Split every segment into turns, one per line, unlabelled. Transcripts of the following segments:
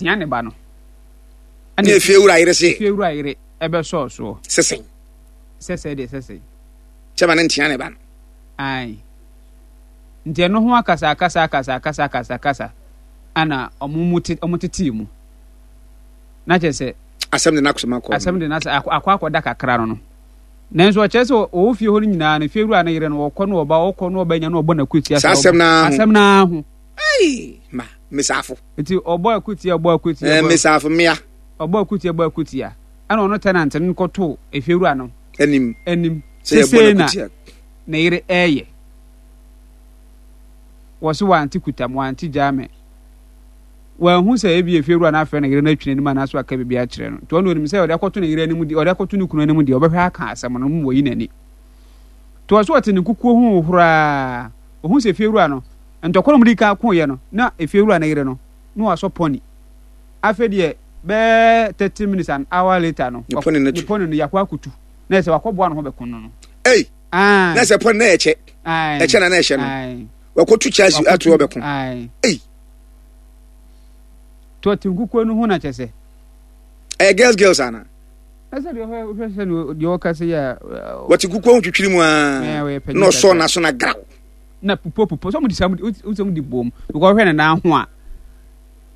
ɔntea ne ba no.
Ɛna efie wura yere se.
Efie wura yere ɛbɛsɔɔ soɔ.
Sesɛn.
Sɛsɛ deɛ sɛsɛ.
Kyɛ ma ne ntea ne ba no.
Ae. Nti ɛno ho akasa akasa akasa akasa akasa akasa ana ɔmo mu te ɔmo tetee mu. Na kyerɛ sɛ.
Asɛm de n'akosɛm akɔ.
Asɛm de n'asɛm akɔ akɔ akɔda kakra no no. Nanso ɔkyerɛ sɛ ɔwɔ fie hɔ no nyinaa no fie wura no yere no ɔkɔ no ɔba ɔkɔ no ɔba nya no ɔbɔ n'akutia.
Saa asɛm naa ho.
Asɛm naa ho.
Ei ma mesafo.
Nti ɔbɔ akutia ɔbɔ akutia.
Ɛɛ mesafo mmea.
Ɔbɔ akutia ɔbɔ akutia. Ɛna ɔno tenant no kɔto efiewura no.
Anim.
Anim. Sesei na ne yere ɛɛyɛ. Wɔsi wante kutam wante gyaa me. Wanhu sɛ ebi efiewura no afrɛ ne yere no atwi n'anim anaasɛ waka biribi akyerɛ no. Nti ɔno onim sɛ ɔde akɔto ne yere anim deɛ ɔde akɔto ne kunu anim deɛ ɔbɛhwɛ aka asɛm no mu wɔyi n'ani. Nti ɔso ɔte ne nkukuo ho horaa. Ohun sɛ efiewura no Ntɔkwa a wɔdii kan koeɛ no, na efiewura no yere no, na wasɔ pɔni. Afei deɛ, bɛyɛ 30 minutes an hour later no,
Ne pɔni no tu.
ne pɔni no yɛakɔ akɔtu. Na ɛsɛ wakɔboa ne ho bɛko no no.
Ei!
Ae.
Na sɛ pɔni na ɛkyɛ.
Ae.
Ɛkyɛ na na ɛhyɛ no.
Ae.
Wakɔtu kyɛ ato hɔ bɛko.
Ae.
Ei!
To ɔte nkukuo no ho na kyɛ sɛ.
Ɛyɛ girls girls ana?
Ɛsɛ deɛ ɔhwɛ sɛ deɛ ɔka sɛ yɛ.
Wɔte nkukuo ho twitwiri mu aa. Na ɔsɔ n'aso na graw.
na pupo pupo sɛ ɔmo de sɛ ɔmo sɛ ɔmo de bom because ɔhwɛ ne nan ho a.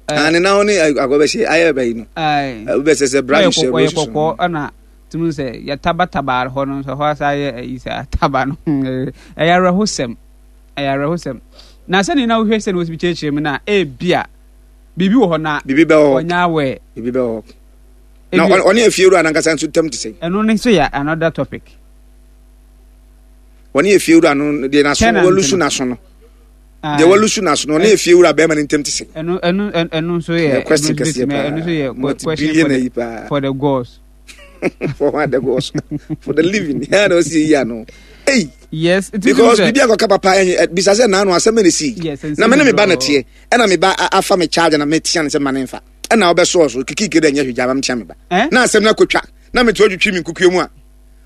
Ah, ne nan ho ne akɔbɛhyɛ ayɛ bɛyi no. Wobɛsɛ sɛ brush hyɛ
ɔyɛ kɔkɔɔ ɛna tumi sɛ yɛtabataba hɔ no nso hɔ asa ayɛ ayi sɛ ataba no ɛyɛ awerɛhosɛm ɛyɛ awerɛhosɛm na sɛnea na wohwɛ sɛ na wɔsi kyerɛkyerɛ mu na ebia biribi wɔ hɔ na
biribi bɛ hɔ
ɔnya awɛ
biribi bɛ hɔ na ɔne afiewura nankasa nso tam te sɛ
ɛno ne nso yɛ another topic.
Wɔne efiewura no deɛ n'aso walusu n'aso no deɛ walusu n'aso no ɔne efiewura bɛrima no ntam te sɛ.
Ɛno ɛno ɛno nso yɛ
question kɛseɛ paa
ɛno nso yɛ question for the for the gods.
For what the gods for the living yɛn na ɔsi eyi ano. Hey.
Yes.
Because bibi akɔka papa ɛnyɛ bisa sɛ naanu asɛm ɛna si.
Yes.
Na me ne me ba na teɛ ɛna me ba afa me charge na me tia ne sɛ ma ne nfa ɛna ɔbɛsɔɔ so kikiki dɛ nyɛ hwɛ gya ma me tia me ba. Na asɛm no akotwa na me te ɔtwitwi me nkukuo mu a.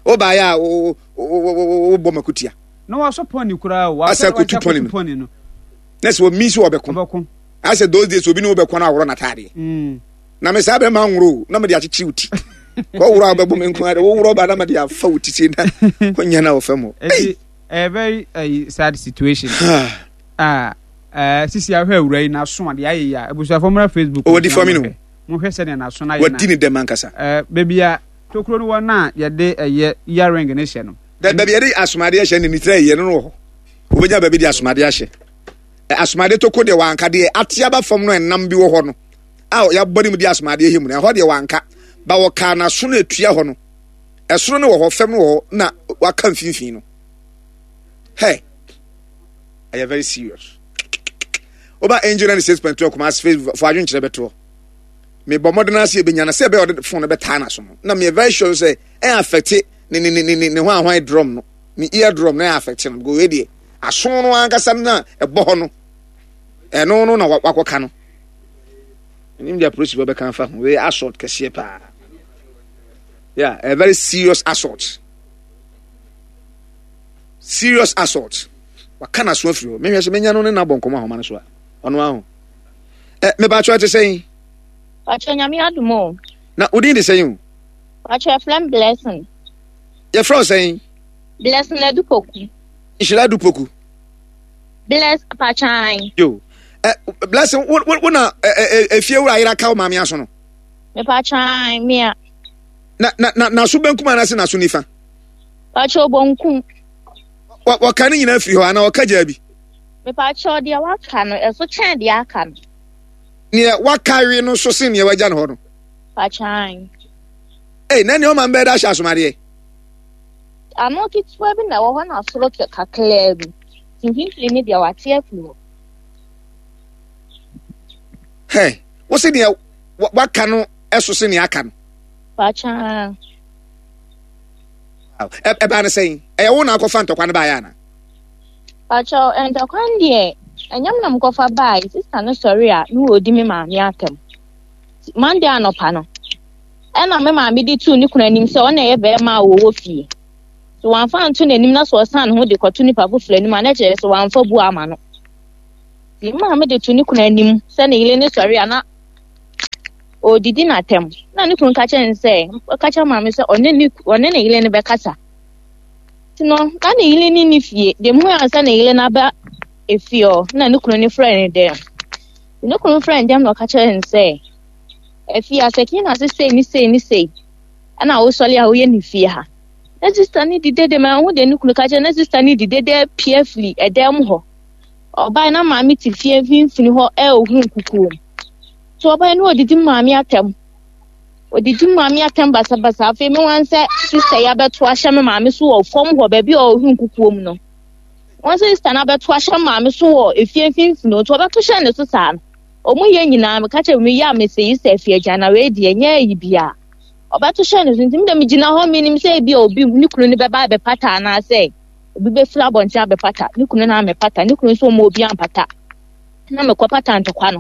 Wobaeɛ a wobɔ makutia.
Na wasɔ pɔni koraa o.
Asɛ kotu pɔni no. Na sɛ omi sɛ ɔbɛko.
Ɔbɛko.
Asɛ those days obi ne wobɛko na aworɔ n'ataadeɛ.
Mm.
Na me saa bɛma nworo o na mede akyekyere wo ti. Kɔworɔ a wobɛbɔ me nko ara woworɔ ba na mede afa wo ti sei na wonya na wɔ fam hɔ.
Eti a very uh, sad situation. Ah, uh, sisi ahwɛ awura yi n'aso a deɛ ayɛ yi a abusuafo mmra Facebook.
Ɔwɔ di fam no.
Mohwɛ sɛdeɛ n'aso no ayɛ na.
Wadi ne dɛm ankasa.
Eh, baabi a tokuro no wɔ no a yɛde ɛyɛ earring no hyɛ no.
Dɛ baabi yɛde asomadeɛ hyɛ ne ne tiri ayɛ no no wɔ hɔ. Wobɛnya baabi de asomadeɛ ahyɛ. Asomadeɛ toko deɛ wanka deɛ ate aba fam no ɛnam bi wɔ hɔ no a yɛabɔ ne mu de asomadeɛ hyɛ mu no ɛhɔ deɛ wanka ba wɔkaa n'aso no atua hɔ no ɛsoro no wɔ hɔ fam no wɔ hɔ na waka mfimfini no. Hey, ɛyɛ very serious. Woba Angel 96.2 Kumasi Facebook fo adwenkyerɛ bɛtoɔ. Mebɔ mmɔden ara sɛ yɛbɛnya no sɛ ɛbɛyɛ ɔde phone no bɛtaa n'aso no na meyɛ very sure sɛ ɛyɛ affect ne ne ne ne ne hwan hwan drum no ne ear drum no ɛyɛ affect no because wei deɛ aso no ankasa no na ɛbɔ hɔ no ɛno no na wakɔka no ɛnim deɛ apolisifoɔ bɛka afa ho wei assault kɛseɛ paa yeah a very serious assault serious assault waka n'aso afiri hɔ mehwɛ sɛ menya no ne n'abɔ nkɔmɔ ahoma no so a ɔno aho ɛ mepakyɛ ɛte sɛn.
Pakyɛ nyame adom o.
Na wo din de sɛn o.
Pakyɛ yɛfrɛ me Blessing.
Yɛfrɛ wo sɛn.
Blessing Adupoku.
Nhyira Adupoku.
Bless pakyɛ.
Yo. Ɛ Blessing wo wo na ɛ ɛ efie wura ayera ka wo maame aso no.
Mepakyɛ mea.
Na na na n'aso benkum anaasɛ n'aso nifa.
Pakyɛ obonkum.
Wɔka ne nyinaa firi hɔ anaa ɔka gyaa bi.
Mepakyɛw, deɛ waka no, ɛso kyɛn deɛ aka no.
Neɛ waka we no so sen neɛ wagya no hɔ no.
Pakyan.
Ei, na nea ɔma mbɛyɛ de ahyɛ asomadeɛ.
Ano ketewa bi na ɛwɔ hɔ na soro kakraa bi. Mfimfini ne deɛ wate afiri hɔ.
Hɛ, wo se deɛ waka no ɛso sen deɛ aka no.
Pakyan.
Ɛbaa no sɛn? Ɛyɛ wo na akɔfa ntɔkwa no baeɛ ana?
Pakyɛw, ntɔkwa no deɛ, ɛnyɛ me na mekɔfa bae. Sista no sɔre a, na ɔredi me maame atɛm. Monday anɔpa no, ɛna me maame de tuu ne kunu anim sɛ ɔna ɛyɛ bɛrima a wɔwɔ fie. So wamfa anto n'anim na sɛ ɔsan ne ho de kɔto nipa foforɔ anim a, na kyerɛ sɛ wamfa bu ama no. Nti me maame de to ne kunu anim sɛ ne yere ne sɔre a na Ɔredidi n'atɛm. Na ne kunu ka kyerɛ no sɛ, ɔka kyerɛ maame sɛ ɔne ne ɔne ne yere no bɛkasa. Nti no, na ne yere no nni fie. Deɛ mehu ara sɛ ne yere no aba efie hɔ, na ne kunu no frɛ no dɛm. Ne kunu frɛ no dɛm na ɔka kyerɛ no sɛ, afie asɛkin na ase sei ne sei ne sei, ɛna wosɔre a woyɛ ne fie ha. Na sista no di dede ma ɛho deɛ ne kunu ka kyerɛ na sista no di dede apue afiri ɛdan mu hɔ. Ɔbae na maame te fie mfimfini hɔ ɛrehu nkukuo mu. So ɔbae no odidi maame atɛm. Odidi maame atɛm basabasa. Afei me wan sɛ sista yi abɛto ahyɛ me maame so wɔ fam hɔ baabi a ɔrehu nkukuo mu no. Wɔn sɛ sista no abɛto ahyɛ maame so wɔ efie mfimfini nti ɔbɛto hyɛ ne so saa no. Wɔn yɛ nyinaa meka kyerɛ me yɛ a mese yi sɛ afie agya na wei deɛ nyɛ ayi bia. Ɔbɛto hyɛ ne so nti me deɛ megyina hɔ menim sɛ ebi a obi ne kunu no bɛba abɛpata anaasɛ obi bɛfiri abɔnten abɛpata ne kunu no amɛpata ne kunu nso ɔma obi ampata na mekɔpata ntɔkwa no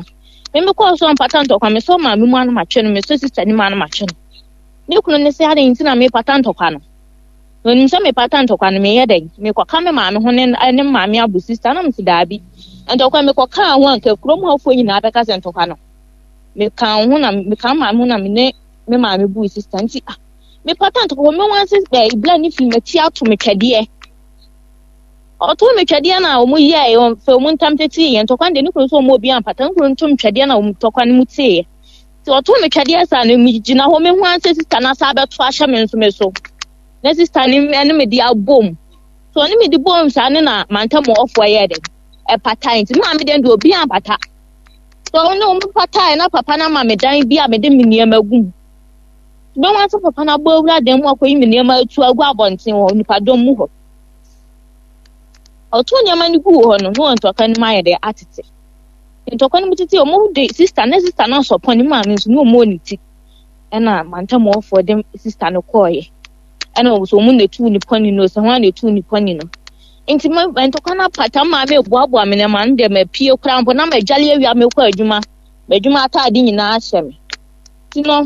me mekɔɔ so mpata ntɔkwa mesɔ maame mu ano matwe no mesɔ sista no mu ano matwe no ne kunu no sɛ adɛn nti na mepata ntɔkwa no na onim sɛ mepata ntɔkwa no meyɛ dɛn mekɔka me maame ho ne ne maame abo sista na mese daabi ntɔkwa mekɔkaa ho anka kurom hɔfoɔ nyinaa bɛka sɛ ntɔkwa no meka ho na meka maame ho na me ne me maame buu sista nti ah mepata ntɔkwa me wansi ɛ ibla ne fi m'akyi ato me twɛdeɛ ɔto me twɛdeɛ na wɔn yɛɛ wɔn fɛ wɔn ntam tete yɛ ntɔkwa deɛ ne kunu nso wɔn obi ampata ne kunu nto me twɛdeɛ na wɔn ntɔkwa no mu teeɛ nti ɔto me twɛdeɛ saa no me gyina hɔ me ho ansɛ sista no asa abɛto ahyɛ me nso me so na sista no ɛne me de abom so ɔne me de bom saa ne na mantam ɔfoɔ yɛ dɛ ɛpata nti maame deɛ deɛ obi ampata so ɔne wɔn pataeɛ na papa no ama me dan bi a mede me nneɛma gu mu Bɛhu ara sɛ papa no abɔ awura dan mu akɔyi me nneɛma atu agu abɔnten wɔ nipadɔm mu hɔ. Ɔtoo nneɛma no guu hɔ no, na wɔn ntɔkwa no mu ayɛ dɛ atete. Ntɔkwa no mu tete, wɔn de sista ne sista no asɔ pɔn ne maame nso ne wɔn wɔ ne ti. Ɛna mantamɔfoɔ de sista no kɔɔeɛ. Ɛna wɔn nso wɔn na etu ne pɔni no, sɛ wɔn na etu ne pɔni no. Nti ma ntɔkwa no apata maame eboaboa me nneɛma no deɛ mapie koraa mpo na madwale awia mekɔ adwuma. M'adwuma ataade nyinaa hyɛ me. Nti no,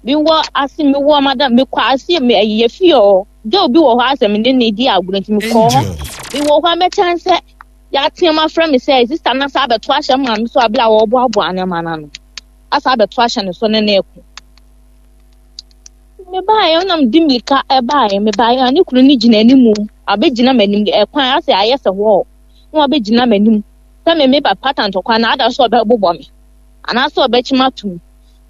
mewɔ ase mewɔ madam mekɔ ase me ɛyɛ fie hɔ girl bi wɔ hɔ asɛ me ne ne di agorɔ nti mekɔ hɔ mewɔ hɔ a mɛkyɛn sɛ yɛateam afrɛ me sɛ sista no asa abɛto ahyɛ maame so abere a wɔreboaboa nneɛma no ano asa abɛto ahyɛ ne so ne ne ko mebaeɛ na mede mmirika ɛbaeɛ mebaeɛ a ne kunu no gyina anim abɛgyina m'anim ɛkwan asɛ ayɛ sɛ hɔ na wabɛgyina m'anim sɛ me meba pata ntɔkwa na ada so ɔbɛbobɔ me anaasɛ ɔbɛkyem atom.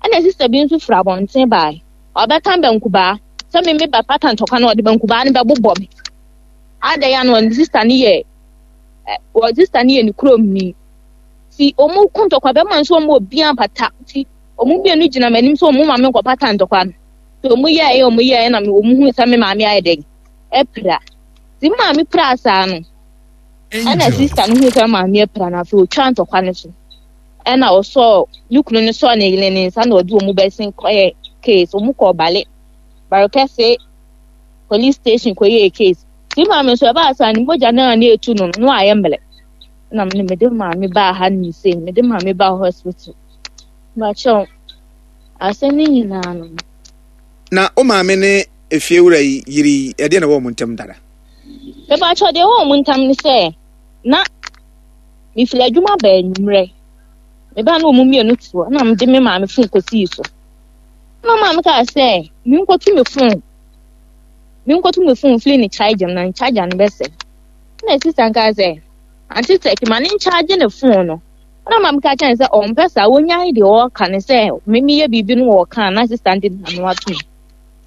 Ɛna sista bi nso firi abɔnten bae. Ɔbɛka bankubaa sɛ me me ba pata ntɔkwa no ɔde bankubaa no bɛbobɔ me. Adɛn ano ɔne sista no yɛ wɔ sista no yɛ ne kurom ni. Ti wɔn ko ntɔkwa bɛma nso wɔn obi ampata. Ti wɔn mmienu gyina m'anim sɛ wɔn ma me nkɔ pata ntɔkwa no. Ti wɔn yɛɛ wɔn yɛɛ na wɔn hu sɛ me maame ayɛ dɛn apira. Ti maame pira saa no. Ɛna sista no hu sɛ maame apira no afei otwa ntɔkwa no so. Ɛna ɔsɔɔ ne kunu no sɔɔ ne yere ne nsa na ɔde wɔn bɛsen kɔyɛ case. Wɔn kɔɔ Bale Barekɛse police station kɔyɛɛ case. Ti maame nso ɛbaa saa ne mogya no a na etu no no ayɛ mmerɛ. Na me mede maame baa ha ne sei mede maame baa hospital. Makyɛw asɛm no nyinaa no.
Na wo maame ne efiewura yi yere yi ɛdeɛ na ɛwɔ wɔn ntam dada?
Mepakyɛw deɛ ɛwɔ wɔn ntam ne sɛ na Mefiri adwuma baa anwummerɛ. Mebaa na wɔn mmienu te hɔ na mede me maame fon kɔsii so. Na maame kaa sɛ menkɔto me fon menkɔto me fon mfiri ne charger mu na ne charger no bɛsɛ. Na sista no kaa sɛ ante sɛ ma ne nkyagye ne fon no. Na maame ka kyerɛ no sɛ ɔmpɛ saa wɔnyae deɛ ɔreka ne sɛ me meyɛ biribi no wɔka na sista no de n'ano atom.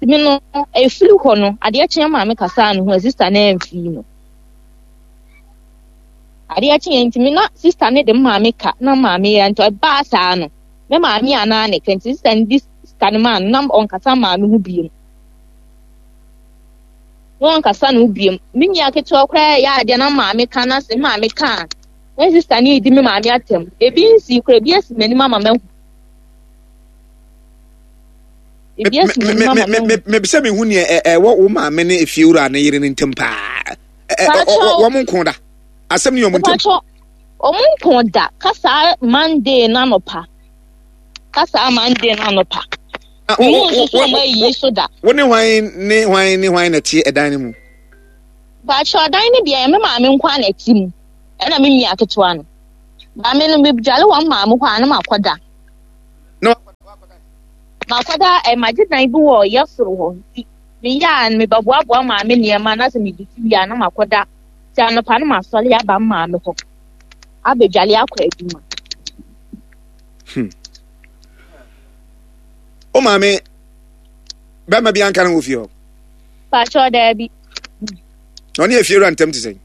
Nti me no ɛfiri hɔ no adeɛ kyeɛ maame kasaa ne ho a sista no amfii no. Adeɛ kyeeɛ nti me na sista no de me maame ka na maame yɛ nti ɛbaa saa no me maame anaa ne ka nti sista no di sika no maa no na ɔnkasa maame ho biem na ɔnkasa ne ho biem me nua ketewa koraa yɛ adeɛ na maame ka na se maame ka a na sista no redi me maame atɛm ebi nsi koraa ebi asi m'anim ama mahu
ebi asi m'anim ama mahu mebisɛ mehu neɛ ɛwɔ wo maame ne efiewura ne yere no ntam paa wɔn nko da asɛm ne wɔn ntam.
Wɔn nko da kasa Monday n'anɔpa kasa Monday n'anɔpa. Mu nso so wɔn ayi so da.
Wo ne hwan ne hwan ne hwan na ɛte ɛdan no mu?
Baakyɛ ɔdan no deɛ me maame nko ara na ɛte mu ɛna me nua ketewa no. Maame no megyale wɔn maame hɔ a na makɔda.
Na wakɔda.
Makɔda ɛ magye dan bi wɔ yɛ soro hɔ nti meyɛ a mebɛboaboa maame nneɛma na sɛ medidi wie a na makɔda. Nti anɔpa no masɔre aba me maame hɔ abɛdwale akɔ adwuma.
Hmm. Wo maame bɛrima bi anka no wɔ fie hɔ?
Pakyɛ daabi.
Na ɔne efiewura ntam te sɛn?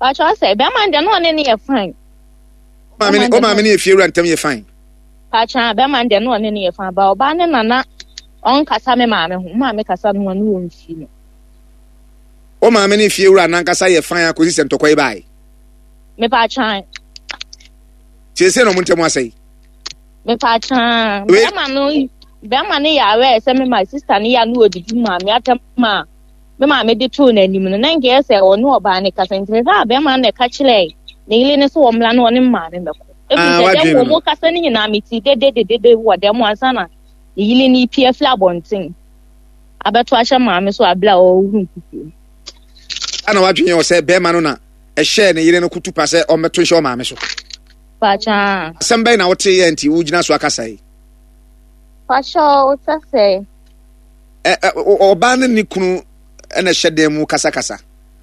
Pakyɛ sɛ bɛrima deɛ na ɔne ne yɛ fine.
Wo maame ne efiewura ntam yɛ fine?
Pakyɛ bɛrima deɛ na ɔne ne yɛ fine ba ɔbaa ne nana ɔnkasa me maame ho maame kasa no ɔne wɔn fi no.
Wo maame ne efiewura nankasa yɛ fine akɔsi sɛ ntɔkwa yi bae?
Mepakyɛ.
Siesie na ɔmo ntam asɛe.
Mepakyɛ bɛrima no bɛrima no yɛ aware sɛ me ma sista no yɛ a na ɔdidi maame atɛm a me maame de too n'anim no na nka yɛ sɛ ɔne ɔbaa no kasa nti mehwɛ a bɛrima no na ɛka kyerɛɛ ne yere no sɛ wɔmmra na ɔne maame mmɛkɔ. Ɛfiri
Ah,
sɛ dɛm
wadwene
wɔ
no.
mu kasa no nyinaa mete dedededede wɔ dɛm ansa na ne yere no repue afiri abɔnten abɛto ahyɛ maame so abere a ɔrehu nkukuo mu.
Ana wadwene yɛ sɛ bɛrima no na ɛhyɛɛ ne yere no kutu pa sɛ ɔmmɛto nhyɛ ɔmaame so.
Pakyɛ.
Asɛm bɛn na wote yɛ nti wogyina so akasa yi?
Pakyɛ wotɛ sɛ.
Ɔbaa ne ne kunu na ɛhyɛ dan mu kasakasa.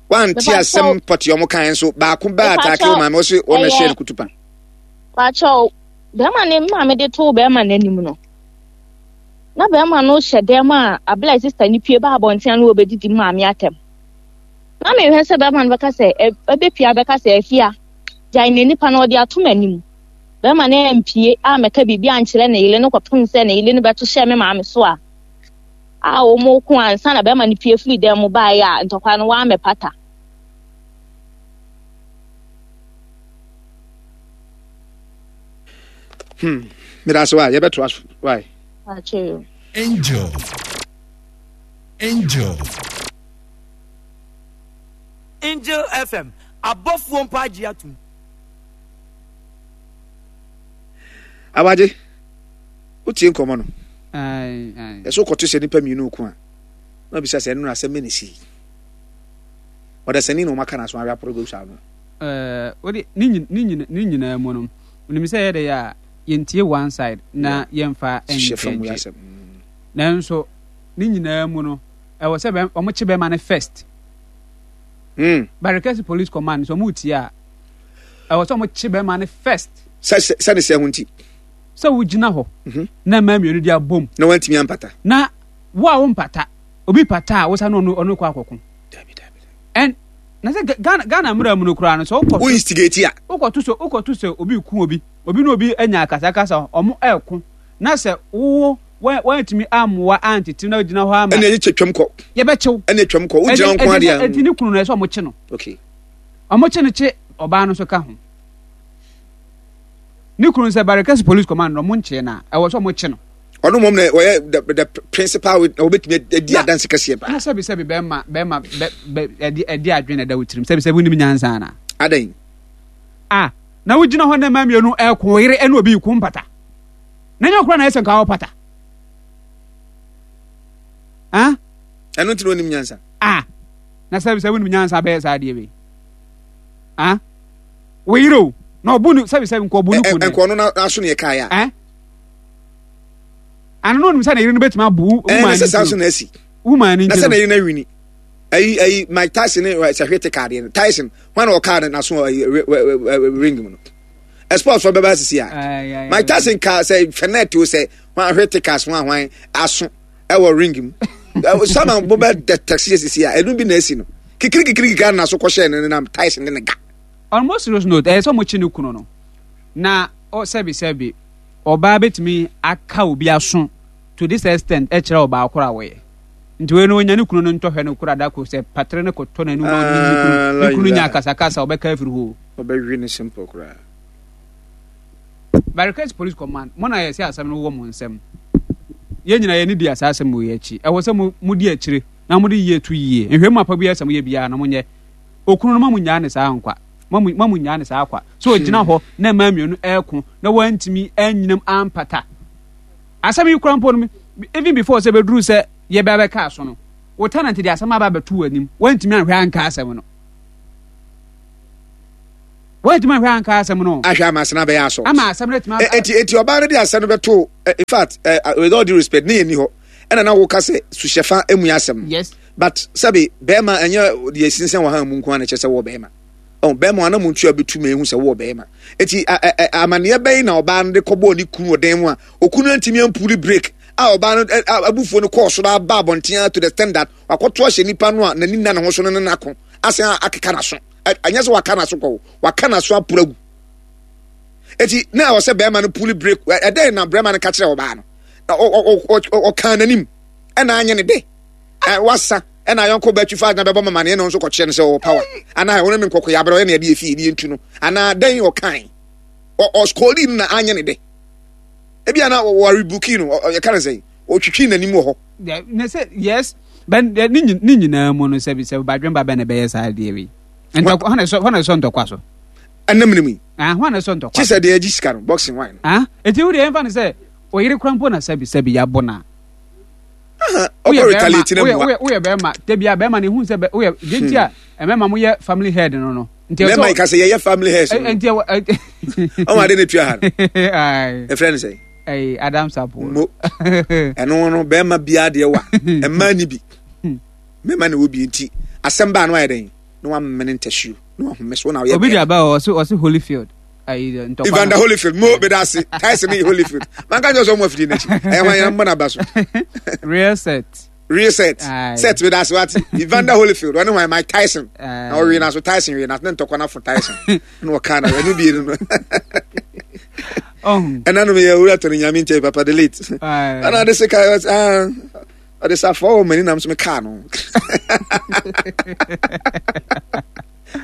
Wante asɛm pɔte ɔmo kan nso baako baa ataake wo maame ɔse ɔno ɛhyɛ no kutu pa.
Pakyɛ bɛrima ne maame de too bɛrima n'anim no. Na bɛrima no hyɛ dan mu a abla sista ne pie ba abɔnten a na wɔbɛdidi maame atɛm. Na mehwɛ sɛ bɛrima no bɛka sɛ ɛbɛpia bɛka sɛ afia gyae ne nipa no ɔde ato m'anim. Bɛrima no ampie a mɛka biribi ankyerɛ ne yere no kɔpem sɛ ne yere no bɛto hyɛ me maame so a a wɔn ko ansa na bɛrima no pie firi dan mu baeɛ a ntɔkwa no wɔammɛpata.
Hmm. Meda ase wa yɛbɛtoa so why.
Angel. Angel.
Angel FM abɔfoɔ mpo agye atum.
Awagye, wotie nkɔmmɔ no. Ɛsɛ wokɔto sɛ nnipa mmienu ko a, na obisa sɛ ɛno na asɛm bɛ na ɛsii. Ɔdasani na wɔaka n'aso awe aporo gu saa no.
Wode ne nyinaa mu no, wonim sɛ yɛde yɛ a yɛntie one side na yɛmfa ngyɛgye. Nanso ne nyinaa mu no, ɛwɔ sɛ wɔkye bɛrima no first. Barikɛse police command sɛ wɔn tie a, ɛwɔ sɛ wɔkye bɛrima no first.
Sɛ sɛ ne sɛ ho nti.
Sɛ wogyina hɔ mhm. na mmaa mmienu de abom.
Na wantumi ampata.
Na wo a wompata, obi pata a wosa no ɔno ɔno kɔ akɔko.
Dabi dabi.
Ɛn na sɛ Ghana Ghana mmerɛ mu no koraa no sɛ wokɔ.
Wo instigate a.
Wokɔto sɛ wokɔto sɛ obi ku obi obi ne obi anya akasakasa ɔmo ɛko na sɛ wo wantumi ammoa antete na gyina hɔ ama.
Ɛna ɛyɛ twam kɔ.
Yɛbɛkyew.
Ɛna twam kɔ wogyina nko adeɛ.
Ɛti ne kunu no ɛsɛ ɔmo kye no.
Okay.
Ɔmo kye no kye ɔbaa no nso ka ho. Ne kunu sɛ Barikasi police command no ɔmo nkyee na ɛwɔ sɛ ɔmo kye no.
Ɔno mmom na ɔyɛ the the principal na ɔbɛtumi adi adanse kɛseɛ paa.
Na sɛbi sɛbi bɛrima bɛrima bɛ bɛ ɛdi ɛdi adwene na ɛda wo tirim sɛbi sɛbi wonim nyansa ana.
Adɛn.
Ah na wogyina hɔ na mmaa mmienu ɛko yere ɛne obi ko mpata. Na nyɛ ɔkora na ɛsɛ nka ɔpata. Ah.
Ɛno nti na onim nyansa.
Ah na sɛbi sɛbi wonim nyansa bɛyɛ saa adeɛ wei. Ah wo yere o na ɔbu no sɛbi sɛbi nka ɔbu no kun.
Nka ɔno n'aso ne ɛka ya.
Eh ano no onim sɛ ne yere no bɛtumi abu wo
man no sɛ saa so na asi
wo man no
na sɛ ne yere no awini ayi ayi Mike Tyson ne sɛ hwete kaadeɛ no Tyson hwan na ɔkaa no n'aso ring mu no sports fɔ bɛba asisi a Mike Tyson kaa sɛ fɛnɛt o sɛ hwan hwete kaas hwan hwan aso ɛwɔ ring mu sama bo bɛ tɛksi asisi a ɛnu bi na asi no kikiri kikiri kikiri na so kɔhyɛ ne nam Tyson ne ne ga.
On more serious note ɛyɛ sɛ ɔmo kye ne kunu no na sɛbi sɛbi ɔbaa bɛtumi aka obi aso to this extent ɛkyerɛ ɔbaa koro a wɔyɛ nti wei no onya ne kunu no ntɔhwɛ no koro adako sɛ patere no kɔtɔ n'anum na ɔde ne kunu ne kunu nya akasakasa ɔbɛka afiri hɔ.
Ɔbɛhwe ne simple koraa.
Barikɛs Police Command mo na yɛsɛ asɛm no wɔ mo nsɛm yɛn nyinaa yɛn ni di asa asɛm wɔ akyi ɛwɔ sɛ mo mo di akyire na mo de yie to yie nhwɛ mu apa bi asɛm yɛ biara na mo nyɛ okunu no ma mo nyaa ne saa nkwa ma mo ma mo nyaa ne saa kwa so ogyina hɔ na mmaa mmienu ɛɛko na wɔntumi anyinam ampata asɛm yi kura mpo no even before sɛ bɛduru sɛ yɛbɛ abɛka aso no wo tenant de asɛm aba abɛto w'anim wɔntumi anhwɛ anka asɛm no. Wɔntumi ahwɛ anka asɛm no.
Ahwɛ ama asɛm no abɛyɛ assault.
Ama asɛm no atumi.
Eti eti ɔbaa no de asɛm no bɛto in fact with all due respect ne yɛ ni hɔ ɛna na woka sɛ suhyɛfa emu yɛ asɛm.
Yes.
But sɛbi bɛrima ɛnyɛ deɛ sinsan wɔ ha mu nko ara na kyerɛ sɛ wɔ bɛrima. Ɔn bɛrima anam ntua bɛtu ma ehu sɛ wɔ bɛrima. Eti amaneɛ bɛn na ɔbaa no de kɔbɔɔ ne kunu wɔ dan mu a okunu antumi ampuli break a ɔbaa no abufuo no kɔɔ soro aba abɔnten to the extent that wakɔto ahyɛ nipa no a n'ani nna ne ho so no ne n'ako asan akeka n'aso. Ɛnyɛ sɛ waka n'aso kɔ waka n'aso aporo agu. Eti na ɛwɔ sɛ bɛrima no puli break ɛdɛn na bɛrima no ka kyerɛ ɔbaa no ɔkaa n'anim ɛna anyɛ ne dɛ wasa ɛna ayɔnko bɛtwi fa na bɛbɔ mama ne ɛna nso kɔkyerɛ no sɛ ɔwɔ power anaa ɔne ne nkɔkɔ yɛ abrɛ ɔyɛ ne ɛde efi ebi ntu no anaa dɛn ɔkan ɔskɔli no na anyɛ ne dɛ ebi ana wɔrebuki no ɔyɛ ka ne sɛ ɔtwitwi n'anim wɔ hɔ.
Ne sɛ yes bɛn ne nyinaa mu no sɛbi sɛ badwemba bɛn na ɛbɛyɛ saa adeɛ wei ntɔkwa hɔn ɛsɔ hɔn ɛsɔ ntɔkwa so.
Ɛnam ne mu yi.
Ah hɔn ɛsɔ ntɔkwa.
Kye sɛ deɛ ɛgye sika no boxing wine.
Ah eti wo deɛ ɛnfa ne sɛ oyere kura mpo na sɛbi sɛbi yabɔ na.
Ɔkɔ retaliate na mua.
Woyɛ bɛrima dabi a bɛrima no ehun sɛ woyɛ deɛ nti a mmarima mo yɛ family head no no.
Mmarima yi ka sɛ yɛyɛ family head no.
Nti ɛwɔ.
Ɔmo ade ne tua ha no. Efrɛ ne sɛ.
Ɛyi Adam Sapo.
Mo ɛno no bɛrima biara deɛ wa mmaa ni bi mmarima na ɛwɔ bi nti asɛm baa no ayɛ dɛn na wamene ntasuo na wahome so na ɔyɛ
obi de aba ɔse ɔse Holyfield.
Evander Holyfield mo bɛ da ase Tyson ne Holyfield manka nyɛ sɛ ɔmo afidie n'akyi ɛyɛ hwan yɛn mbɔ n'aba so.
Real set.
Real set set bɛ da ase wate Evander Holyfield ɔne hwan Mike Tyson na ɔwe na so Tyson we na ne ntɔkwa n'afo Tyson na ɔka na ɛnu bie no no. Ɛna no yɛ owura tɔni nyame nkyɛn papa delete ɛna ade se ka ɔde safoa wɔ m'ani nam so me kaa no.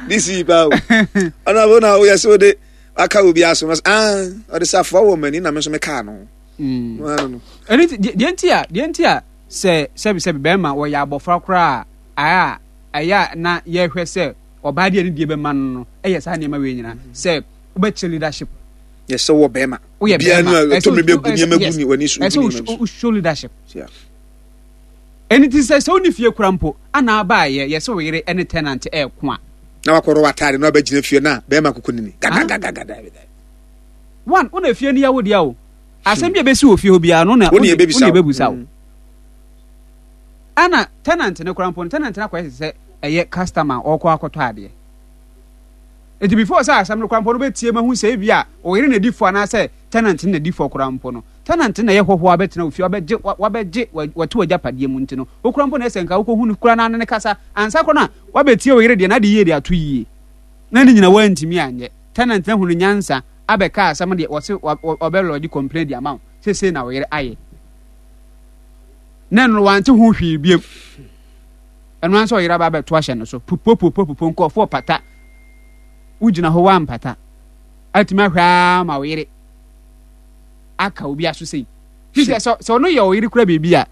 This yi paa o. Ɔno abo na woyɛ sɛ wode aka obi aso no ah ɔde safoa wɔ m'ani na me nso me kaa no.
Mm. Ɛno nti deɛ nti a deɛ nti a sɛ sɛbi sɛbi bɛrima wɔyɛ abɔfra koraa a ɛyɛ a na yɛhwɛ sɛ ɔbaa deɛ ne deɛ bɛma no no ɛyɛ saa nneɛma wei nyinaa sɛ wobɛkyerɛ leadership.
Yɛ sɛ wɔ bɛrima.
Woyɛ bɛrima.
Ɛsɛ ɛtɔ mi bɛ gu nneɛma gu ne w'ani so.
Ɛsɛ wo show leadership. Ɛno nti sɛ sɛ wonni fie kora mpo ana abaayɛ yɛ sɛ wo yere ne tenant ɛɛko a.
Na wakɔrɔ w'ataade na wabɛgyina fie na bɛrima koko nini gagagagaga.
One wo na fie no yɛ wo dea o. Asɛm bi a ɛbɛsi wɔ fie hɔ biara no na wo na ɛbɛbusa wo. Ana tenant no kora mpo no tenant no akɔyɛ sɛ ɛyɛ customer ɔkɔ akɔtɔ adeɛ. Nti before sɛ asɛm no kora mpo no bɛtie ma hu sɛ ebi a ɔyere na di fɔ anaasɛ tenant no na di fɔ koraa mpo no, tenant no na ɛyɛ hɔhoɔ a abɛtena wo fie, wabɛgye, wabɛgye, wate w'agyapadeɛ mu nti no, wo koraa mpo na ɛsɛ nka wokɔhu no koraa na ne no kasa ansa koraa na wabɛtie wo yere deɛ na ade yie de ato yie. Na ne nyina woantumi anyɛ. Tenant no ahunu nyansa abɛka asɛm deɛ wɔse ɔbɛ lodge complaint de ama wo sɛ sei na wo yere ayɛ. Na ɛno no wante ho hwee biam. Ɛno ara sɛ ɔyere aba abɛto ahyɛ no so, pupopupopupo nkurɔfoɔ pata. Wogyina hɔ woampata. atumi ahwɛ ara ma wo yere aka obi aso sei fi sɛ sɛ ɔno yɛ ɔyere kura biribi a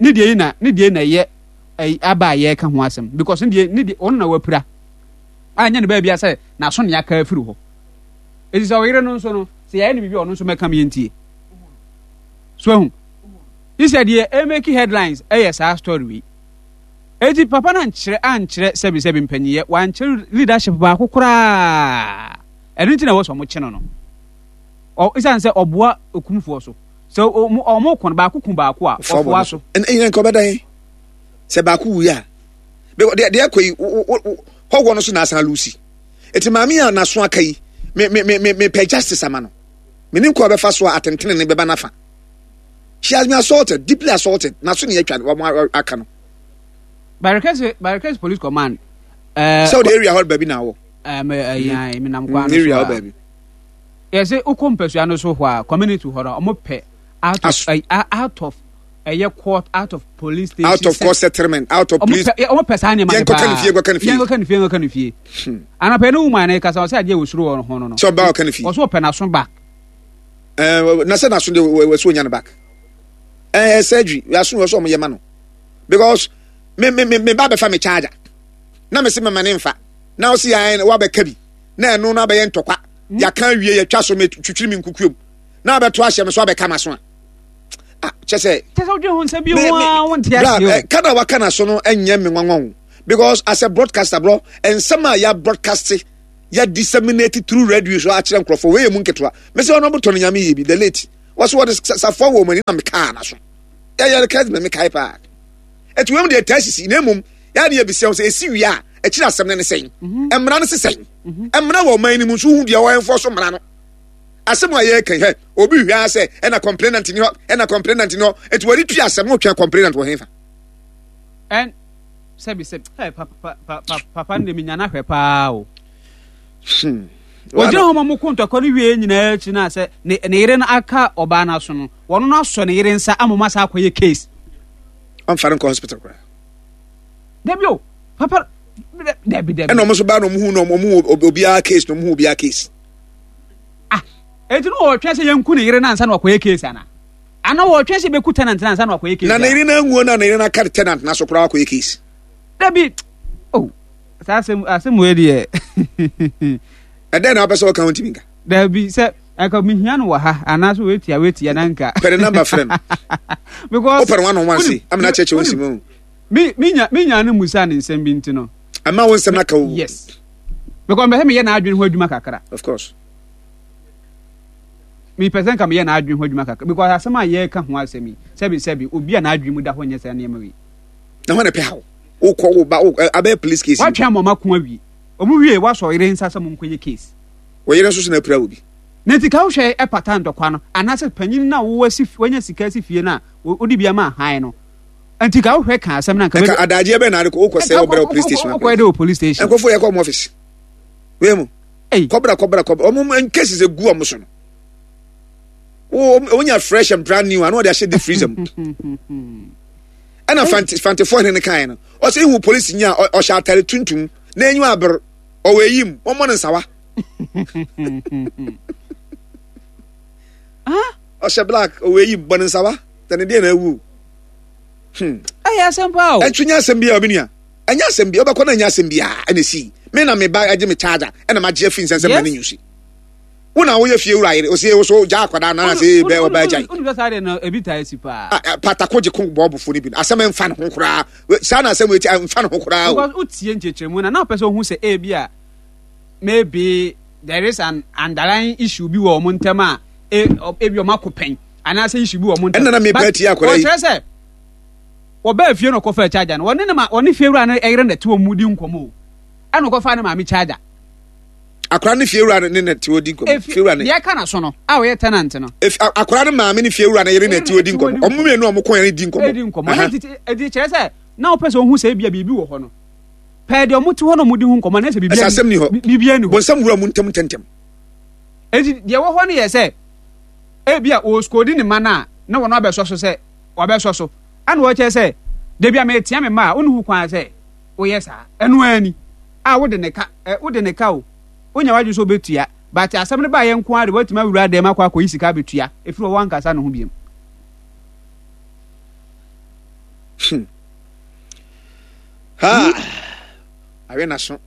ne deɛ yi na ne deɛ na ɛyɛ aba a yɛreka ho asɛm because ne deɛ ne deɛ ɔno na wapira a nyɛ ne baabi a sɛ n'aso ne aka afiri hɔ eti sɛ ɔyere no nso no sɛ yɛayɛ no biribi a ɔno nso mɛka mi ntie so ehu yi sɛ deɛ ɛmɛki headlines ɛyɛ saa story wei eti papa no ankyerɛ ankyerɛ sɛbi sɛbi mpanyiyɛ wankyerɛ leadership baako koraa. Ɛno nti na ɛwɔ sɛ wɔkye no no. Ɔ esiane sɛ ɔboa okumfoɔ so. Sɛ wɔn wɔn ko no baako ku baako a ɔfoa so.
Ɛnyɛ nka ɔbɛdan sɛ baako wui a. Deɛ deɛ ɛkɔ yi hɔhoɔ no so na asan lusi. Eti maame a n'aso aka yi me me me me pɛ justice ama no. Menim kɔ ɔbɛfa so a atentene ne bɛba n'afa. She has been assaulted, deeply assaulted. N'aso ne atwa wɔn aka no.
Barekɛse Barekɛse Police Command.
Sɛ ɔde area hɔ baabi na awɔ.
Ɛɛ menam kwan no so a. Yɛsɛ wokɔ mpasua no so hɔ a community hɔ no ɔmo pɛ out of out of ɛyɛ court out of police station
out of court settlement out of police
ɔmo pɛ saa nneɛma no paa
yɛnkɔka ne fie yɛnkɔka ne fie
yɛnkɔka ne fie yɛnkɔka ne fie anapɛ ne woman no kasa ɔsɛ adeɛ wɔ soro wɔ ho no no
sɛ ɔba ɔka ne fie
ɔsɛ ɔpɛ n'aso back
ɛɛ na sɛ n'aso deɛ wɔsɛ onya no back ɛɛ surgery aso wɔ sɛ ɔmo yɛ ma no because me me me me ba bɛfa me charger na me se mɛma ne nfa na ɔsi yɛn wabɛka bi na ɛno no abɛyɛ ntɔkwa hmm. yɛaka awie yɛtwa so metwitwiri me nkukuom na abɛto ahyɛ me so abɛka ma so a ah kyɛ sɛ
kyɛ sɛ wodwen ho nsɛm bi ho a wonte aseɛ
o kada waka na so no ɛnyɛ me nwanwa o because as a broadcaster bro nsɛm a yɛ broadcast yɛ disseminate through radio so akyerɛ nkurɔfoɔ wei yɛ mu nketewa. Mese ɔno botɔ no nyame yɛ bi the late. Wɔso wɔde safoa wɔ wɔn ani na mekaa na so. Yɛyɛ kɛse na mekae paa. Ɛti wei mu deɛ ɛtaa sisi na mmom yɛa ne yɛbisia sɛ ɛsi wie a akyiri asɛm no ne sɛn. Mhm. Mmara no se sɛn. Mhm. Mmara wɔ ɔman no mu nso wohu deɛ wɔɛmfɔ so mmara no. Asɛm a yɛreka hɛ obi hwɛ ara sɛ ɛna complainant ni hɔ ɛna complainant ni hɔ nti wɔde tui asɛm no twɛn complainant wɔ hefa.
Ɛn sɛbi sɛbi ɛ papa papa papa no de menya no ahwɛ paa o. Hmm. Wɔgyina hɔ ma mo ko ntɔkwa no wie nyinaa akyi no a sɛ ne ne yere no aka ɔbaa no aso no wɔn no asɔ ne yere nsa ama mo asa akɔyɛ case.
Ɔmfa no nkɔ hospital koraa.
Dabi o papa dabi dabi.
Ɛna wɔn nso baa na wɔn hu na wɔn hu obiara case na wɔn hu obiara case.
Ah, eti no wɔtwɛn sɛ yɛnku ne yere no ansa na wakɔyɛ case ana? Ana wɔtwɛn sɛ yɛbɛku tenant no ansa na wakɔyɛ case?
Na ne yere no anwuo na ne yere no aka tenant no so koraa wakɔyɛ case.
Dabi, oh, saa asɛm asɛm wei deɛ.
Ɛdɛn na wapɛ sɛ ɔka wontumi nka?
Dabi, sɛ anka mehia no wɔ ha anaasɛ wetia wetia na nka.
Pɛ ne namba frɛ no.
Because
wopɛ no one on one se amena kyerɛkyerɛ wo nsɛm o.
Me menya menya no musa ne nsɛm bi nti no.
Ɛma wo nsɛm aka wo.
Yes. Because mepɛ sɛ meyɛ n'adwene ho adwuma kakra.
Of course.
Mepɛ sɛ nka meyɛ n'adwene ho adwuma kakra because asɛm a yɛreka ho asɛm yi sɛbi sɛbi obi a n'adwene mu da hɔ nyɛ saa nneɛma wei.
Na hɔ na ɛpɛ haw. Wokɔ wo ba wo abɛyɛ police case.
Watwe ama ɔma ko awie. Ɔmo wie wasɔ yere nsa sɛ mo nkɔyɛ case.
Wɔ yere nso so na apira obi.
Na nti ka wohwɛ ɛpata ntɔkwa no anaasɛ panyin no a wowɔ si wanya sika si fie no a wode bi ama han no. Nti ka wohwɛ ka asɛm no anka.
Nka adagyeɛ bɛn na ade wokɔ sɛ wɔbrɛ wɔ police station.
Wokɔ de wɔ police station.
Nkurɔfoɔ yɛ kɔ ɔmo office. Wei mu. Kɔbra kɔbra kɔbra ɔmo cases egu ɔmo so no. Wo wonya fresh and brand new ano ɔde ahyɛ deep freezer mu. Ɛna fanti fantifoɔ hene no kan no. Ɔsɛ ihu polisi nya ɔhyɛ atare tuntum na enyiwa aber ɔwɔ eyim wɔmmɔ no nsawa. Ɔhyɛ black ɔwɔ eyim bɔ no nsawa. Sɛ ne deɛ na awu.
Hmm. Ɛyɛ asɛm paa o.
Ɛnso nyɛ asɛm biara obi nua. Ɛnyɛ asɛm bi ɔbɛkɔ na ɛnyɛ asɛm biara ɛna esi. Me na me ba agye me charger ɛna magye afi nsɛnsɛm na ne nyusi. Wo na woyɛ fie wura yere ose wo so gya akwadaa na ase bɛ ɔba agyae.
Wonu sɛ saa deɛ no ebi taa si paa.
Ah, eh, patako gye ko bɔɔbofo no bi no asɛm ɛmfa ne ho koraa. Saa na asɛm eti ɛmfa ne ho koraa o.
Because wotie nkyerɛkyerɛmu na na wopɛ sɛ ohu sɛ ebi a maybe there is an underlying issue bi wɔ wɔn ntam a ebi wɔn akɔ pɛn. anaasɛ issue bi wɔ wɔn
ntam. Ɛna na mepɛ atie akwadaa yi.
Wɔkyerɛ sɛ wɔbaa fie na ɔkɔfaa charger no wɔne ne ma wɔne fiewura no yere na ɛte wɔn mu di nkɔmɔ o ɛna ɔkɔfaa ne maame charger.
Akwadaa ne fiewura no ne na ɛte wɔn di nkɔmɔ. Fiewura ne
deɛ ɛka na so no a ɔyɛ tenant no.
Akwadaa ne maame ne fiewura no yere na ɛte wɔn di nkɔmɔ. Wɔn mmienu a wɔn kɔn yɛn di nkɔmɔ.
Di nkɔmɔ ɛna titi ɛdi kyerɛ sɛ na ɔpɛ sɛ ohun sɛ ebia biribi wɔ hɔ no pɛɛ deɛ wɔn te hɔ na wɔn di ho nkɔmɔ na ɛsɛ biribi
ɛsɛ asɛm ni hɔ
biribi ani hɔ.
Bɔnsam wura mu ntɛm ntɛmntɛm.
Eti deɛ ɛwɔ hɔ no yɛ sɛ ebia ɔresikodi ne mma no a, na wɔn abɛsɔ so sɛ wɔabɛsɔ so. Ɛna ɔkyerɛ sɛ, dabi a meretea me mma a, wonni ho kwan sɛ woyɛ saa. Ɛno ara ni. A wode ne ka, ɛ, wode ne ka o. Wonya w'adwene sɛ wobɛtua, but asɛm no baeɛ nko ara de woatumi awura dan mu akɔ akɔyi sika abɛtua, ɛfiri hɔ woankasa ne ho biom.
Hmm. Ha! Awe n'aso.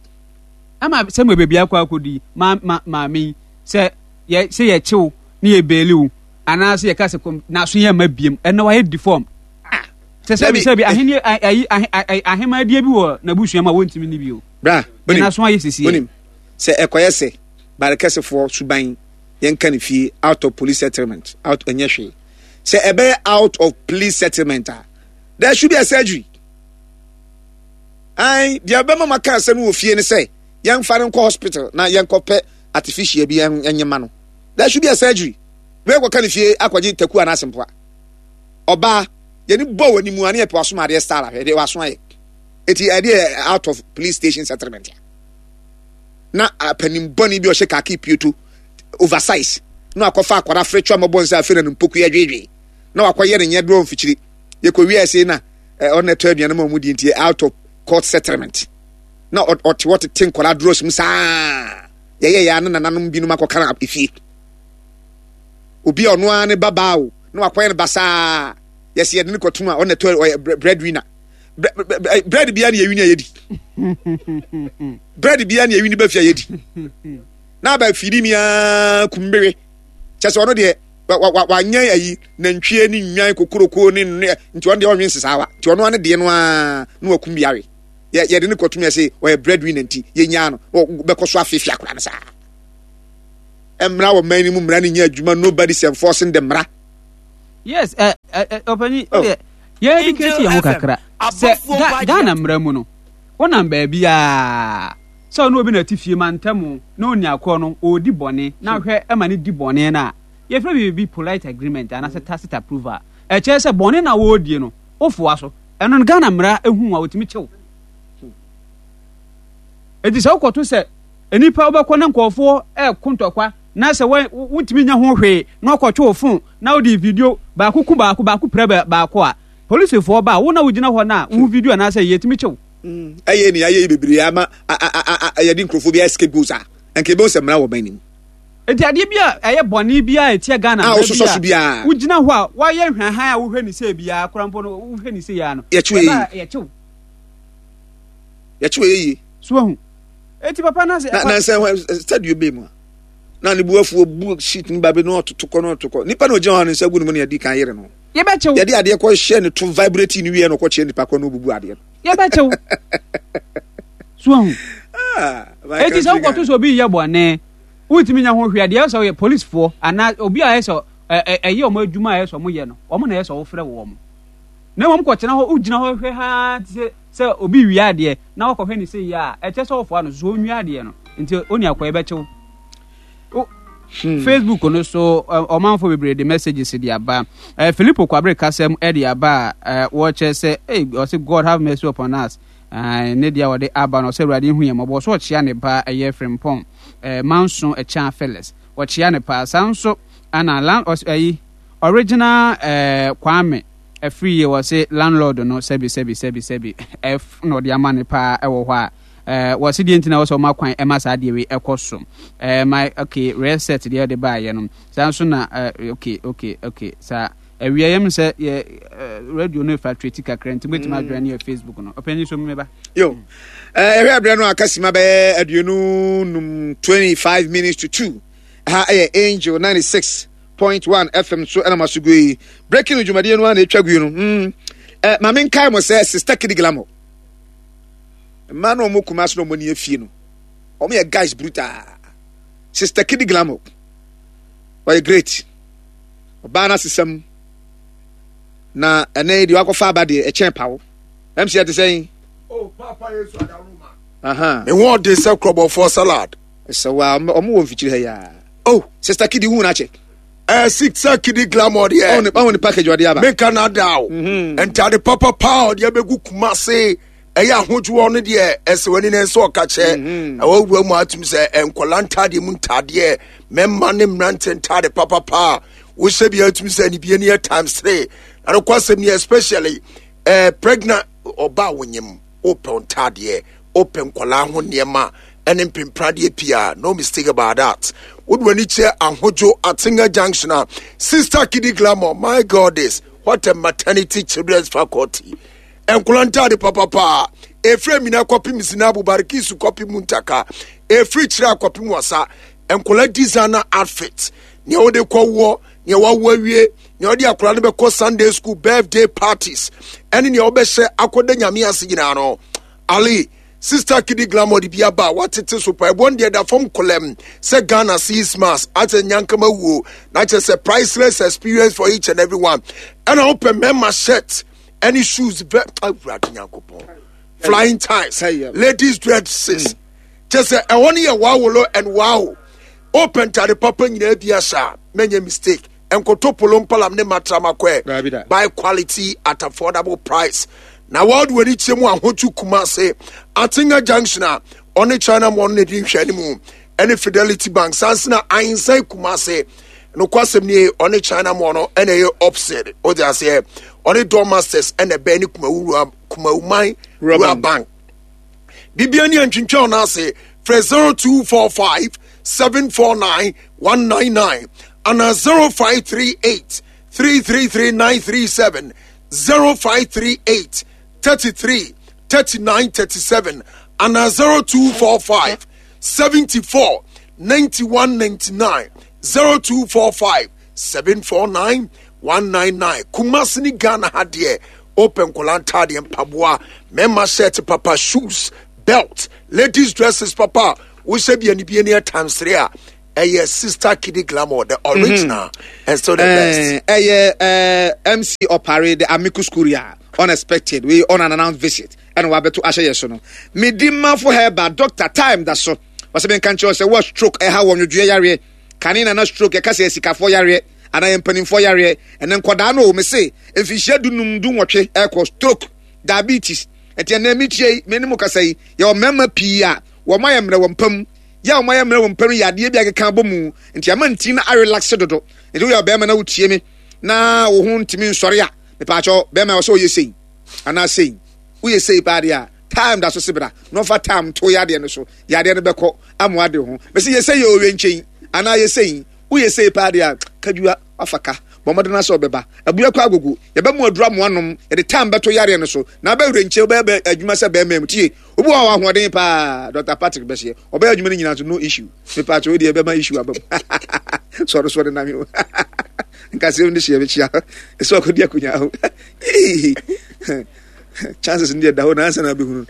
Ama sɛ mo baabi akɔ akɔdi ma ma maame yi sɛ yɛ sɛ yɛkye wo ne yɛ beeli wo anaasɛ yɛka sɛ kɔm n'aso yɛ mma biem ɛnna wayɛ deform sɛ sɛbi sɛbi ahenni ayi ahemadeɛ bi wɔ n'abusua mu a wɔntumi ne bio
bra
onim n'aso ayɛ sisi
onim sɛ ɛkɔyɛ sɛ barekɛsefoɔ suban yɛnka ne fie out of police settlement out ɛnyɛ hwee sɛ ɛbɛyɛ out of police settlement a there should be a surgery ai deɛ ɛbɛma maka asɛm wɔ fie ne sɛ yɛmfa no nkɔ hospital na yɛnkɔpɛ artificial bi ɛnyɛ ma no there should be a surgery wei kɔka ne fie akɔgye taku anaasɛ mpoa ɔbaa yɛne bɔ wɔ anim a ne yɛpɛ wasom adeɛ style ahwɛ deɛ waso ayɛ eti ɛdeɛ out of police station settlement a na apanin bɔne bi ɔhyɛ kaki pieto oversize na wakɔfa akwadaa afretwa mɔbɔ nsa afei na ne mpoku yɛ dwedwe na wakɔyɛ ne nyɛ dorɔ mfikyiri yɛkɔ wie ase na ɔna ɛtɔ aduane ma ɔmo di nti out of court settlement na ɔte hɔ tete nkwadaa dorɔ mu saa yɛyɛ yɛ ne nananom binom akɔka no efie obi a ɔno ara ne babaa o na wakɔyɛ no basaa yɛsi yɛde no kɔtum a ɔna ɛtɔ ɔyɛ bread winner bread bia ne yɛwi ne yɛdi bread bia ne yɛwi ne ba fie a yɛdi na aba fidi mi aa kumbewe kyɛ sɛ ɔno deɛ wanyɛ ayi nantwie ne nnwan kokoroko ne nti ɔno deɛ ɔnwe nsesaawa nti ɔno ara ne deɛ no ara na wakum bi awe. yɛde ne kɔtum yɛ se ɔyɛ breadwinner nti yɛnyaa no bɛkɔ so afeefee akora no saa. Mmara wɔ man no mu, mmara no nyɛ adwuma, nobody is enforcing the mmara.
Yes, ɛ ɛ ɔpanyin, oh. Yɛ educate yɛn ho kakra sɛ Ghana mmara mu no, wonam baabi a sɛ ɔne obi na ɛte fie ma ntɛm na ɔni akorɔ no ɔredi bɔne na hwɛ ɛma no di bɔne no a yɛfrɛ biribi polite agreement anaasɛ tacit approval. Ɛkyerɛ sɛ bɔne na wɔredie no wofoa so. Ɛno no Ghana mmara ehu a wɔtumi kyew. Eti sɛ wokɔto sɛ nnipa wobɛkɔ na nkurɔfoɔ ɛko ntɔkwa na sɛ wontumi nya ho hwee na wɔkɔtwe wo fon na wode video baako ku baako baako pira baako a, polisifoɔ ba a wo na wogyina hɔ no a wo video anaasɛ yɛtumi kyew.
Ɛyɛ nea ayɛ yi bebree ama yɛde nkurɔfoɔ bi ayɛ scapegoats a nka yɛbɛhu sɛ mmara wɔ man no mu.
Enti adeɛ bi a ɛyɛ bɔne biara a ɛtia Ghana mmara bi a wogyina hɔ a woayɛ nhwahan a wohwɛ ne sei biara koraa mpo no wohwɛ ne sei ara no
yɛkyew yɛkyew yɛkyew ɛyɛ yie.
So wahu? Eti papa na sɛ
na na sɛ stadio bɛɛ mu a na ne bu afuo bu sheet no ba bi na ɔtoto kɔ na ɔtoto kɔ nipa na ogyina hɔ a ne nsa gu ne mu na yɛdi kan yere no.
Yɛbɛkyew.
Yɛde adeɛ kɔ hyɛ ne to vibrate ne wie na ɔkɔ kyerɛ nipa kɔ na obubu adeɛ no.
Yɛbɛkyew. So wahu? Ah, Eti sɛ wokɔto sɛ obi yɛ bɔne wontumi nya ho hwee a deɛ ɛsɛ ɔyɛ policefoɔ anaa obi a ɛyɛ sɛ ɛyɛ wɔn adwuma a ɛyɛ sɛ wɔyɛ no wɔn na ɛyɛ sɛ wɔfrɛ wɔn na mmom kɔtena hɔ wogyina hɔ hwɛ haa te sɛ sɛ obi wia adeɛ na wakɔhwɛ ne sɛ yie a ɛkyɛ sɛ wɔfoa no so ɔnwia adeɛ no nti ɔni akɔyɛ bɛkyew Facebook no so ɔmanfo bebree de messages de aba. Filippo Kwabere kasam de aba a wɔkyerɛ sɛ ɔse God have mercy upon us. Ne deɛ a ɔde aba no ɔsɛ Awurade nhu yɛn mmɔbɔ. Ɔsɛ ɔkyea ne ba ɛyɛ Frimpong Manso Ɛkyan Phyllis. Ɔkyea ne paa. Saa nso ana lan ɔs ɛyi original Kwame Afriyie wɔse landlord no sɛbi sɛbi sɛbi sɛbi ɛf na ɔde ama ne paa ɛwɔ hɔ a wɔse deɛ nti na wɔsɛ ɔma kwan ɛma saa deɛ wei ɛkɔ so my okay reset deɛ ɔde baayɛ no saa nso na okay okay okay saa Awia yɛm sɛ yɛ radio no fluctuate kakra nti mobɛtumi mm. adwene ne yɛ Facebook no. Ɔpanyin so mmeba.
Yo. Ɛhwɛ ɛberɛ no aka sima bɛyɛ 25 25 minutes to 2. Ha ɛyɛ Angel 96.1 FM so ɛna maso gu yi. Breaking dwumadie no a na ɛtwa gu yi no. Mm. Eh, ma menkae mo sɛ Sister Kidi Glamour. Mmaa no ɔmo kuma so na ɔmo ni afie no. Ɔmo yɛ guys brutal. Sister Kidi Glamour. Ɔyɛ great. Ɔbaa no asesam na ɛnɛ yi deɛ wakɔfa aba deɛ ɛkyɛn pawo. MC ɛte sɛn?
Oh, Papa Yesu Adaroma. Aha. Me ho ɔde sɛ korɔbɔfoɔ salad.
Sɛ wa ɔmo wɔ mfikyiri ha yi a. Oh, Sister Kidi hu n'akyɛ.
Eh, Sister Kidi glamour deɛ.
Ɔmo ne package ɔde aba.
Meka na da o. Mhm. Ntade papa paa ɔde abɛgu Kumase. Ɛyɛ ahodwoɔ no deɛ ɛsɛ w'ani na ɛsɛ ɔka kyɛ. Mhm. Ɛwɔ wura mu atum sɛ nkɔla ntaadeɛ mu ntaadeɛ mɛma ne mmerante ntaade papapa a wohyɛ bi atum sɛ ne bie ne yɛ times three. Na no kwasɛm ni especially eh, pregnant ɔba a wonyim wopɛ ntaadeɛ wopɛ nkɔla ho nneɛma ɛne mpempradeɛ pii a no mistake about that. Wode w'ani kyerɛ ahodwo Atenga junction a Sister Kidi Glamour my goddess what a maternity children's faculty. Nkwadaa ntaade papapa ɛfiri Amina kɔpem Zinabu Barikisu kɔpem Muntaka ɛfiri Kyerɛ kɔpem Wasa nkwadaa designer outfit nea wode kɔwoɔ nea wawo awie nea wode akwadaa no bɛkɔ Sunday school birthday parties ɛne nea wobɛhyɛ akɔda nyame ase nyinaa no Ali Sister Kidi Glamour de bi aba a watete so pa ɛboɔ no deɛ da fam kolɛm sɛ Ghana sees mass akyɛ nyankama wuo na kyɛ sɛ priceless experience for each and every one ɛna wopɛ mmarima shirt ɛne shoes vɛ awurade nyankopɔn flying ties ladies dresses mm. kyɛ sɛ ɛhɔ no yɛ wawolo and wow open ntade papa nyinaa bi ahyɛ a mɛnyɛ mistake nkoto polo mpalam ne matrama kɔɛ buy quality at affordable price na world wɔ ani kyerɛ mu ahotu kumase atenga junction a ɔne china mɔ no na ɛdi nhwɛ no mu ɛne fidelity bank sansena ahensan kumase Nokwasɛm nie, ɔne China mɔ no ɛna ɛyɛ opposite. O de aseɛ, ɔne Door Masters ɛna ɛbɛn ne Kumawura Kumawuman Rural Bank. Bibia ni antwintwa ɔno ase. Frɛ 0245 749 199 ana 0538 333 937 0538 33 39 37 ana 0245 74 91 99 0245 749 199 Kumasi ne Ghana ha deɛ Wopɛ nkwadaa ntaadeɛ, mpaboa, mmarima shirt papa, shoes, belt, ladies dresses papa a wohyɛ bi anibie ne ɛtansere a ɛyɛ Sister Kiddy Glamour, the mhm. original mm -hmm. and still the best.
Ɛyɛ eh, MC Opare, the amicus curiae, unexpected, we on an announced visit, ɛna wabɛto ahyɛ yɛ so no. Medi mafo herba, doctor time da so. Wɔsɛ menka nkyerɛ sɛ wɔ stroke ɛha wɔ nwodwoeɛ yareɛ. Kane na na stroke yɛka sɛ asikafoɔ yareɛ anaa yɛ mpanimfoɔ yareɛ. Ɛnɛ nkɔdaa no o, mese mfinhyia dunum dunwɔtwe ɛkɔ stroke, diabetes. Ɛnti ɛnɛ metie yi, me ne mo kasa yi, yɛwɔ mmarima pii a wɔn ayɛ mmerɛ wɔ mpa mu. Yɛ a wɔn ayɛ mmerɛ wɔ mpa mu yɛ adeɛ bi akeka abɔ mu. Nti ama nti na arelaxe dodo. Nti woyɛ ɔbarima na wotie me na wo ho ntumi nsɔre a, mepaakyɛw bɛrima ɛwɔ sɛ ɔyɛ sei anaa sei. Woyɛ sei paa deɛ a, time da so se bra na ɔfa time to yadeɛ no so. Yadeɛ no bɛkɔ ama wade ho. Mese yɛ sei yɛ owie nkyɛn anaa yɛ sei. Woyɛ sei paa deɛ a, kadua wafa ka. Bɔ mmɔden na sɛ ɔbɛba. Abua kɔ agogo. Yɛbɛmo aduru amoa nom. Yɛde time bɛto yareɛ no so. Na abɛwerɛ nkyɛn wobɛyɛ bɛ adwuma sɛ bɛrima mu. Tie, obi wɔ hɔ a ahoɔden paa. Dr. Patrick bɛseɛ. Ɔbɛyɛ adwuma no nyinaa nso no issue. Mepaakyɛ wo deɛ ɛbɛma issue aba mu. Sɔre sɔre na me o. Nkasɛm de hyɛ mekyia. Ɛsɛ ɔkɔdi akonya ho. Chances no deɛ da hɔ na ansa na abɛhunu.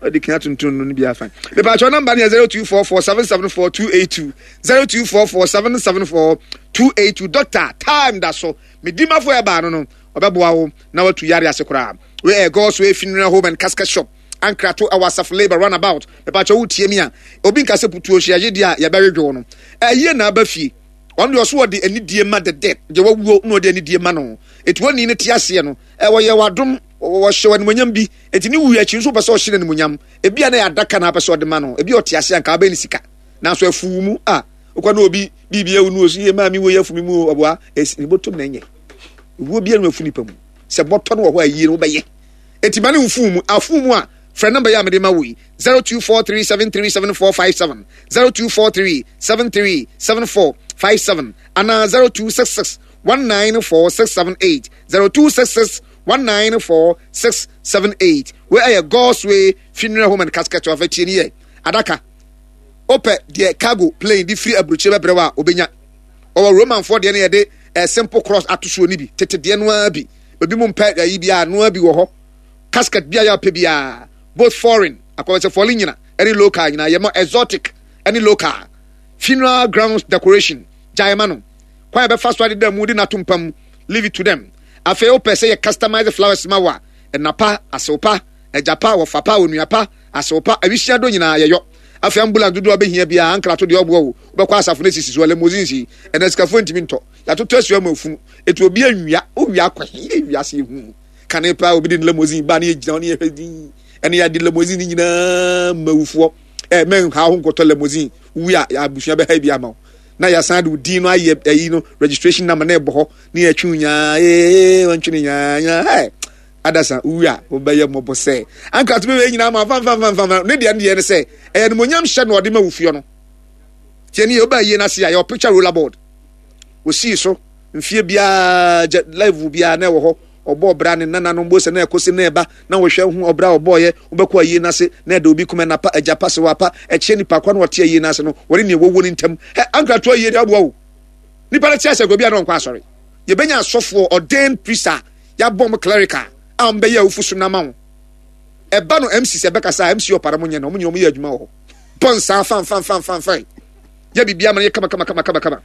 Ɔde kan atontun no no bi afa. Mepaakyɛ namba no yɛ 0244 774 282. 0244 774 282. Doctor, time da so. Medimafo ɛbaa no no, ɔbɛboa wo na watu yare ase koraa. Wei ɛyɛ God's Way Funeral Home and Casket Shop. Ankrato ɛwɔ Asafo Labour runabout. Mepaakyɛ wo tie mi a, obi nka sɛ putuo hyɛ yɛgye deɛ a yɛbɛwedwo no. Ɛyie na aba fie. Ɔno deɛ ɔso ɔde anidie ma the dead. Deɛ wawuo na ɔde anidie ma no. Eti wɔn ni te aseɛ no, ɛwɔ yɛ wadom, wɔhyɛ wɔ animuonyam bi. Eti ne wuo akyi nso wopɛ sɛ ɔhyɛ no animuonyam. Ebi a na yɛ adaka na apɛ sɛ ɔde ma no. Ebi a ɔte aseɛ anka abɛn ne sika. Nanso afuw mu a, wokɔ na obi biribi awu no osu yɛ maame wo yɛ afumi mu ɔboa esi ne bɔtɔm na ɛnyɛ. Owuo biara no afu nipa mu. Sɛ bɔtɔ no wɔ hɔ a yie no wobɛyɛ. Eti ma ne mfuw mu afuw mu a frɛ namba yi a mede ma wo yi 0243737457 0243737457 anaa 0266 194678 0266 194678. Wei ɛyɛ God's Way Funeral Home and Casket of Tie ni yɛ adaka. Wopɛ deɛ cargo plane de firi aburokyire bɛbrɛ wo a obenya. Ɔwɔ Romanfoɔ deɛ no yɛde eh, simple cross ato soɔ no bi, tete deɛ no ara bi. Ebi mu mpɛ ayi bi a noa bi wɔ hɔ. Casket bi a yɛ apɛ biara, both foreign, akɔbɛ sɛ foreign nyina, ɛne local nyina, yɛ ma exotic ɛne local. Funeral grounds decoration, gyae ma no. Kwan a bɛfa so adeda mu de no ato mpa mu, leave it to them. Afei wopɛ sɛ yɛ customize flowers ma wo a, ɛna pa, asew pa, agya pa, wɔfa pa, onua pa, asew pa, awisia do nyinaa yɛyɔ. Afei ambulance dodoɔ a wobɛhia biara, ankrato deɛ ɔboa wo, wobɛkɔ asafo no asisi so a, limousines yi, ɛnɛ sikafoɔ ntumi ntɔ. Yɛatoto asua ma afunu, eti obi anwia, wowia akɔ he? Yɛ wiase ehu. Kane paa obi de ne limousine ba ne yɛgyina hɔ ne yɛhwɛ din, ɛne yɛade limousine no nyinaa ma awufoɔ. Ɛ mɛnha ho nkɔtɔ limousine, wowie a abusua bɛha bi ama wo. Na yɛasan de wo din no ayɛ ayi no registration number na ɛbɔ hɔ ne yɛtwe wo nyaa ee wɔntwe ne nyaa nyaa hɛ adasa wowie a wobɛyɛ mmɔbɔ sɛ anka to bɛwɛ nyinaa ma fanfanfanfanfa ne deɛ ne deɛ ne sɛ ɛyɛ animonyam hyɛ na ɔde ma wofie no tiɛ ne yɛ wobaa yie no ase a yɛwɔ picture roller board wɔsii so mfie biara gya live biara na ɛwɔ hɔ ɔbɔ ɔbra ne nananom bo sɛ na ɛkɔsi na ɛba na wɔhwɛ ho ɔbra ɔbɔɔyɛ wobɛkɔ ayie no ase na ɛda obi kuma napa agya pa sɛ wapa ɛkyɛ nipa kwa na ɔte ayie no ase no wɔne nea wɔwɔ no ntam ɛ ankratoɔ ayie de aboa wo nipa no te asɛ obi a na ɔnkɔ asɔre yɛbɛnya asɔfoɔ ordained priest a yɛabɔ mo clerical a wɔbɛyɛ awufo so no ama wo ɛba no mc sɛ ɛbɛkasa mc ɔpara mo nyɛ no ɔmo nyɛ ɔmo yɛ adwuma wɔ hɔ bɔ nsaa fanfanfanfanfan yɛ biribi ama no yɛ kama kama kama kama kama.